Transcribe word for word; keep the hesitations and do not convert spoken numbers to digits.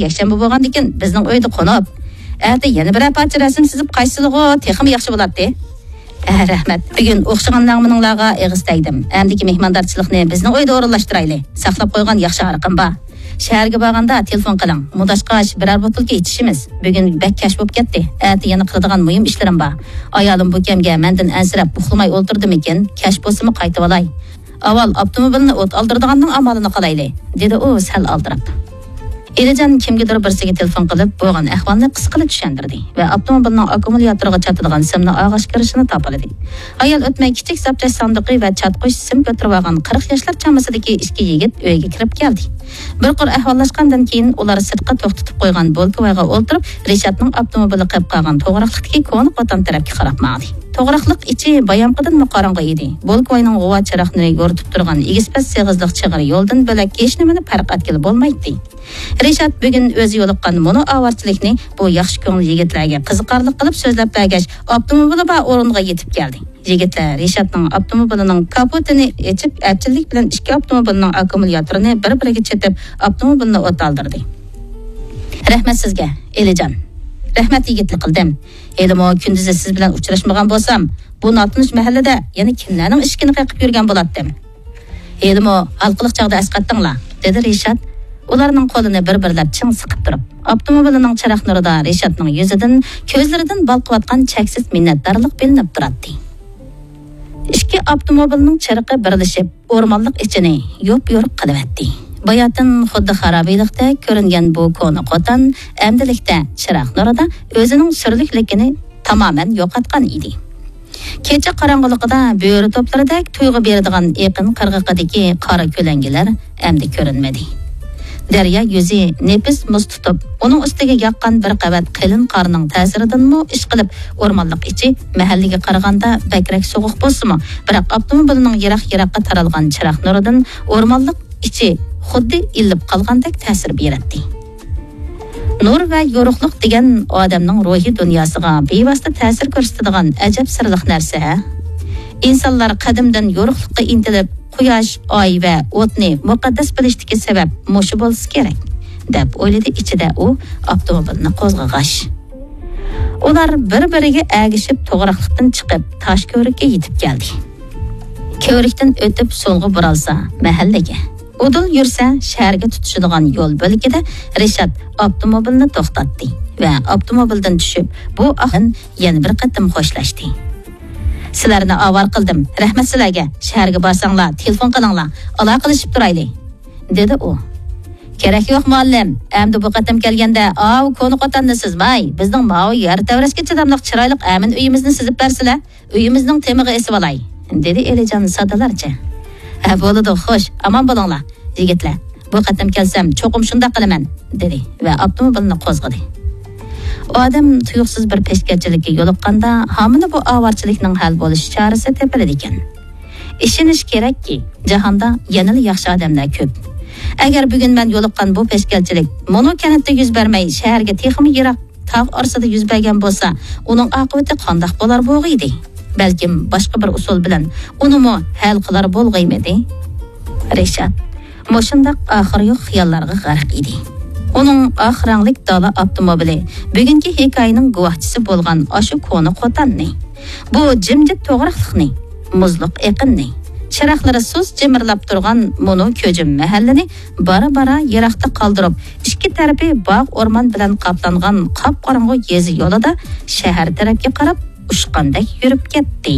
يەكشەنبە بولغاندىكىن بىزنىڭ ئۆيدە قونۇپ، ئەتە يەنە بىرەر پارچە رەسىم سىزىپ قايتسىلىغۇ، تېخىمۇ ياخشى بولاتتى. ئە، رەھمەت. بۈگۈن ئوخشىغان نەغمىنىڭلارغا ئېغىز تەگدىم. ئەمدىكى مېھماندارچىلىقنى بىزنىڭ ئۆيدە ئورۇنلاشتۇرايلى. ساقلاپ قويغان ياخشى ھارىقىم بار. شەھەرگە بارغاندا تېلېفون قىلىڭ. مۇداشقاچ بىرەر بوتۇلكا ئىچىشىمىز. بۈگۈن بەك كەچ بولۇپ كەتتى. ئەتە يەنە قىلىدىغان مۇھىم ئىشلىرىم بار. ئايالىم بۇ كەمگە مەندىن ئەنسىرەپ ئۇخلىماي ئولتۇردىمىكىن، كەچ بولسىمۇ قايتىۋالاي. ئاۋۋال ئاپتوموبىلنى ئوت ئالدۇرىدىغاننىڭ ئامالىنى قىلايلى، دېدى ئۇ سەل ئالدىراپ. ئېلىجان كىمگىدۇر بىرسىگە تېلېفون قىلىپ، بولغان ئەھۋالنى قىسقىلا چۈشەندۈردى ۋە ئاپتوموبىلنىڭ ئاككۇمۇلياتورىغا چاتىدىغان سىمنى ئالغاچ كىرىشىنى تاپىلىدى. ھايال ئۆتمەي كىچىك زاپچاش ساندۇقى ۋە چاتقۇچ سىم كۆتۈرۈۋالغان قىرىق ياشلار چامىسىدىكى ئىككى يىگىت ئۆيگە كىرىپ كەلدى. بىر قۇر ئەھۋاللاشقاندىن كېيىن، ئۇلار سىرتقا توختىتىپ قويغان بولكىۋايغا ئولتۇرۇپ، رىشاتنىڭ ئاپتوموبىلى قېلىپ قالغان توغراقلىقتىكى كونا قوتان تەرەپكە قاراپ ماڭدى. توغراقلىق ئىچى بايامقىدىنمۇ قاراڭغۇ ئىدى. بولكىۋاينىڭ غۇۋا چىراغ نۇرى يورۇتۇپ تۇرغان ئېگىز-پەس سېغىزلىق چىغىرى يولىدىن بۆلەك ھېچنېمىنى پەرق ئەتكىلى بولمايتتى. رىشات بۈگۈن ئۆزى يولۇققان مۇنۇ ئاۋارىچىلىكنى بۇ ياخشى كۆڭۈل يىگىتلەرگە قىزىقارلىق قىلىپ سۆزلەپ بەرگەچ، ئاپتوموبىلى بار ئورۇنغا يېتىپ كەلدى. يىگىتلەر رىشاتنىڭ ئاپتوموبىلىنىڭ كاپوتىنى ئېچىپ، ئەپچىللىك بىلەن ئىككى ئاپتوموبىلنىڭ ئاككۇمۇلياتورىنى بىر-بىرىگە چېتىپ، ئاپتوموبىلنى ئوت ئالدۇردى. رەھمەت سىزگە، ئېلىجان. رەھمەت يىگىتلىك قىلدىم. ھېلىمۇ كۈندۈزى سىز بىلەن ئۇچراشمىغان بولسام، بۇ ناتونۇش مەھەللىدە يەنە كىملەرنىڭ ئىشىكىنى قېقىپ يۈرگەن بولاتتىم. ھېلىمۇ ھالقىلىق چاغدا ئەسقاتتىڭلار، دېدى رىشات، ئۇلارنىڭ قولىنى بىر-بىرلەپ چىڭ سىقىپ تۇرۇپ. ئاپتوموبىلىنىڭ چىراغ نۇرىدا رىشاتنىڭ يۈزىدىن، كۆزلىرىدىن بالقىۋاتقان چەكسىز مىننەتدارلىق بىلىنىپ تۇراتتى. ئىككى ئاپتوموبىلنىڭ چىرىقى بىرلىشىپ، ئورمانلىق ئىچىنى يوپيورۇق قىلىۋەتتى. باياتىن خۇددى خارابىلىقتەك كۆرۈنگەن بۇ كونا قوتان ئەمدىلىكتە چىراغ نۇرىدا ئۆزىنىڭ سۈرلۈكلۈكىنى تامامەن يوقاتقان ئىدى. كېچە قاراڭغۇلۇقىدا بۆرە توپلىرىدەك تۇيغۇ بېرىدىغان ئېقىن قىرغىقىدىكى قارا كۆلەڭگىلەر ئەمدى كۆرۈنمىدى. دەريا يۈزى نېپىز مۇز تۇتۇپ، ئۇنىڭ ئۈستىگە ياغقان بىر قەۋەت قېلىن قارنىڭ تەسىرىدىنمۇ ئىشقىلىپ، ئورمانلىق ئىچى مەھەللىگە قارىغاندا بەكرەك سوغۇق بولسىمۇ، بىراق ئاپتوموبىلنىڭ يىراق-يىراققا تارالغان چىراغ نۇرىدىن ئورمانلىق ئىچى خۇددى ئىللىپ قالغاندەك تەسىر بېرەتتى. نۇر ۋە يورۇقلۇق دېگەن ئادەمنىڭ روھىي دۇنياسىغا بىۋاسىتە تەسىر كۆرسىتىدىغان ئەجەب سىرلىق نەرسە ھە. ئىنسانلار قەدىمدىن يورۇقلۇققا ئىنتىلىپ، قۇياش، ئاي ۋە ئوتنى مۇقەددەس بىلىشتىكى سەۋەب مۇشۇ بولسا كېرەك، دەپ ئويلىدى ئىچىدە ئۇ ئاپتوموبىلنى قوزغىغاچ. ئۇلار بىر-بىرىگە ئەگىشىپ توغراقلىقتىن چىقىپ، تاش كۆۋرۈككە يېتىپ كەلدى. كۆۋرۈكتىن ئۆتۈپ سولغا بۇرالسا، مەھەللىگە. ئۇدۇل يۈرسە، شەھەرگە تۇتىشىدىغان يول بۆلىكىدە رىشات ئاپتوموبىلنى توختاتتى ۋە ئاپتوموبىلدىن چۈشۈپ، بۇ ئاقىن يەنە بىر قېتىم خوشلاشتى. سىلەرنى ئاۋارە قىلدىم، رەھمەت سىلەرگە. شەھەرگە بارساڭلار، تېلېفون قىلىڭلار، ئالاقىلىشىپ تۇرايلى، دېدى ئۇ. كېرەك يوق، مۇئەللىم. ئەمدى بۇ قېتىم كەلگەندە ئاۋۇ كونا قوتاننى سىزماي، بىزنىڭ ماۋۇ يەر تەۋرەشكە چىداملىق چىرايلىق ئەمىن ئۆيىمىزنى سىزىپ بەرسىلە، ئۆيىمىزنىڭ تېمىغا ئېسىۋالاي، دېدى ئېلىجان سادىلارچە. ھە، بولىدۇ، خوش، ئامان بولۇڭلار، يىگىتلەر. بۇ قېتىم كەلسەم، چوقۇم شۇنداق قىلىمەن، دېدى ۋە ئاپتوموبىلنى قوزغىدى. ئادەم تۇيۇقسىز بىر پەشكەتچىلىككە يولۇققاندا، ھامىنى بۇ ئاۋارىچىلىكنىڭ ھەل بولۇش چارىسى تېپىلىدىكەن. ئىشىنىش كېرەككى، جاھاندا يەنىلا ياخشى ئادەملەر كۆپ. ئەگەر بۈگۈن مەن يولۇققان بۇ پەشكەتچىلىك مۇنۇ كەنتتە يۈز بەرمەي، شەھەرگە تېخىمۇ يىراق تاغ ئارىسىدا يۈز بەرگەن بولسا، ئۇنىڭ ئاقىۋىتى قانداق بولار بولغىيدى؟ بەلكىم باشقا بىر ئۇسۇل بىلەن ئۇنىمۇ ھەل قىلار بولغىيمىدى؟ رىشات مۇشۇنداق ئاخىرى يوق خىياللارغا غەرق ئىدى. ئۇنىڭ ئاق رەڭلىك دالا ئاپتوموبىلى بۈگۈنكى ھېكايىنىڭ گۇۋاھچىسى بولغان ئاشۇ كونا قوتاننى، بۇ جىمجىت توغراقلىقنى، مۇزلۇق ئېقىننى، چىراغلىرى سۇس جىمىرلاپ تۇرغان مۇنۇ كۆجۈم مەھەللىنى بارا-بارا يىراقتا قالدۇرۇپ، ئىككى تەرىپى باغ-ئورمان بىلەن قاپلانغان قاپقاراڭغۇ يېزا يولىدا شەھەر تەرەپكە قاراپ ئۇچقاندەك يۈرۈپ كەتتى.